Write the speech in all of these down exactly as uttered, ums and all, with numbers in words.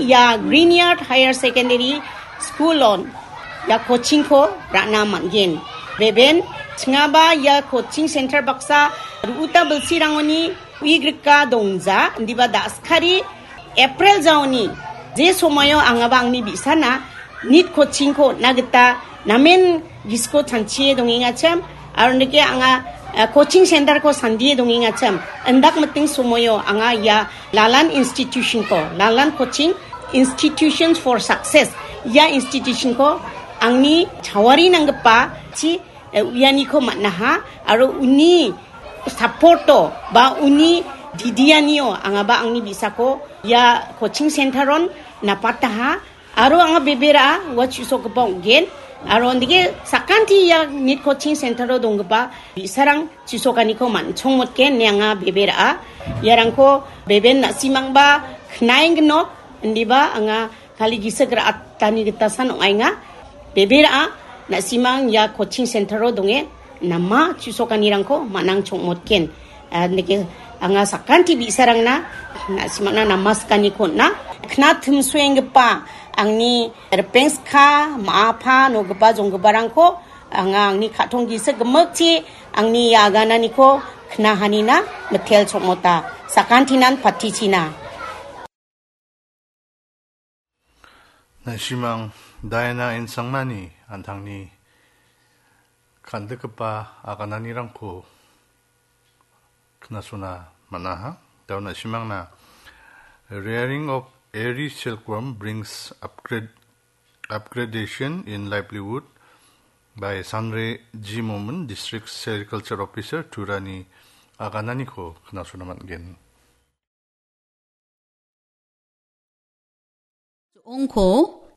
Ia Green Yard Higher Secondary School-on ia coaching-ko ra·na man·gen. Beben chingaba ia coaching center baksa ru·uta bilsirangoni uigrika dongja, indiba da·skari April jaoni je somoio angaba angni bi·sana nit coaching-ko on·na gita namen gisiko chanchie dongengachim, aro nike anga, eh, coaching center-ko sandie dongengachim, indak miting somoio anga ia Lalan institution-ko, Lalan Coaching Institutions for Success, ia institution-ko angni chawari nanggipa chi, eh, uianiko man·aha, aro uni support-o ba uni didianio angaba angni bi·sako ia coaching center-on napataha, aro anga bebera ua chu·sokgipa ong·gen, aro ondike sakanti ia nit coaching center-o donggipa bi·sarang chu·sokaniko man·chongmotgen ine anga bebera. Iarangko beben na·simangba knaengginok, indiba anga kali gisik ra·atani gitasan ong·aenga. Bebera na·simang ia coaching center-o donge nama chu·sokanirangko man·ang chongmotgen. Ah, nike anga sakanti bi·sarangna na·simangna nama sikaniko on·a. Kna timsoenggipa angni ripengska, ma·apa, nogipa, jonggiparangko anga angni ka·tong gisik gimikchi angni ia agananiko knahanina mitel chongmota. Sakantinan patichina. Na·simang Diana Insangmani an·tangni kan·dikgipa agananirangko knasona man·aha. Dao na·simangna Rearing of Airy Silkworm Brings Upgrade-, Upgradation in Livelihood by Sanre G Momin, District Sericulture Officer, Turani agananiko knasona man·gen. Jo·ongko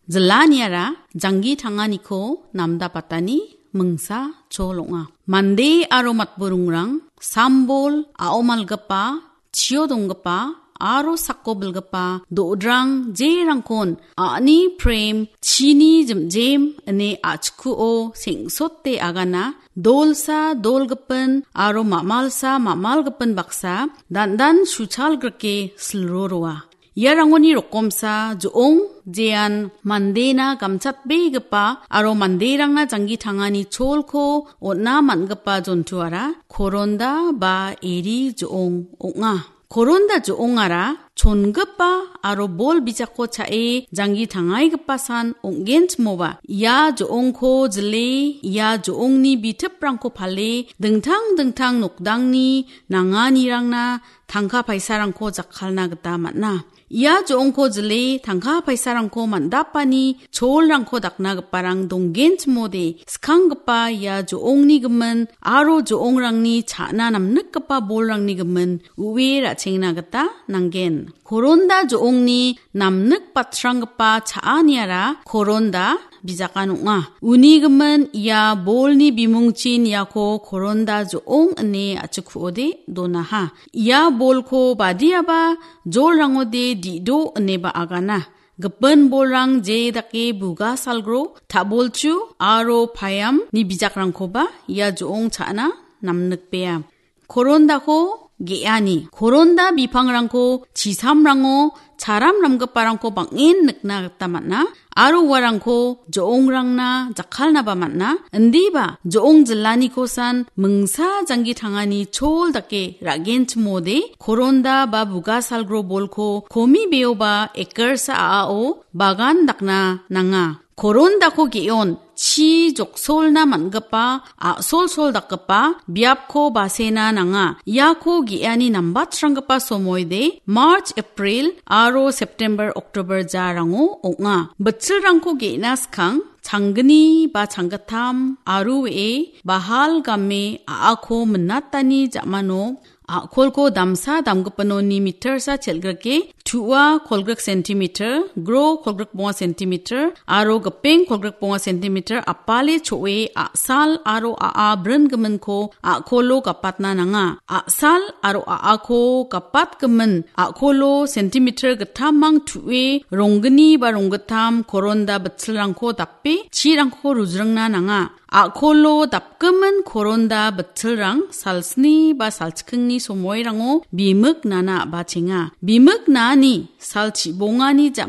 jilaniara janggi tanganiko namdapatani mingsa chol ong·a. Mande aro matburingrang sambol a·omalgipa, chio donggipa aro sako bilgipa do·drang jerangkon a·ni prem chini jimjem ine a·chikuo seng·sote agana. Dolsa dolgipin aro mamalsa mamalgipin baksa dandan suchal grike silro roa. Iarangoni rokomsa jo·ong, jean mandena gamchatbegipa aro manderangna janggi tangani cholko on·na man·gipa jontuara koronda ba eri jo·ong ong·a. Koronda jo·ongara chongipa aro bol bijakko cha·e janggi tangaigipa san ong·genchimoba, ia jo·ongko jile, ia jo·ongni bitiprangko pale, dingtang dingtang nokdangni nanganirangna tangka paisarangko jakkalna gita man·a. Ia jo·ongko jile tangka paisarangko man·dapani cholrangko daknagiparang donggenchimode, skanggipa ia jo·ongni gimin aro jo·ongrangni cha·na namnikgipa bolrangni gimin u·e ra·chengna gita nanggen. Koronda jo·ongni namnik batranggipa cha·aniara koronda bijakan ong·a. Uni gimin ia bolni bimungchin iako koronda jo·ong ine a·chikuode donaha. Ia bolko badiaba jolrangode di·do ineba agana. Gipin bolrang je dake buga salgro, ta·bolchu aro payamni bijakrangkoba ia jo·ong cha·na namnikbea. Korondako ge·ani. Koronda bipangrangko chisamrango charam ramgiparangko bang·en nikna gita man·a. Aro uarangko jo·ongrangna jakkalnaba man·a. Indiba jo·ong jilanikosan mingsa janggi tangani chol dake ra·genchimode, koronda ba buga salgro bolko komi beoba ekarsa a·ao bagan dakna nanga. Korondako ge·on chi joksolna man·gipa a·solsol dakgipa biapko basena nanga. Iako ge·ani nambatranggipa somoide March, April aro September, October jarango ong·a. Bitchilrangko ge·na skang changgni ba changgittam aru we·e bahal game a·ako minatani ja·mano a·kolko damsa damgipinoni metersa chelgrike, tu·a kolgrik centimeter, gro kolgrik bonga centimeter, aro gipeng kolgrik bonga centimeter apale cho·e a·sal aro a·a brin giminko a·kolo gapatna nanga. A·sal aro a·ako gapat gimin a·kolo centimeter gittamang tu·e ronggni ba ronggittam koronda bitchilrangko dape chirangko rujringna nanga. A·kolo dapgimin koronda bitchilrang salsni ba salchikkingni somoirango bimik nana a·bachenga. Bimik naani salchi bongani ja·ma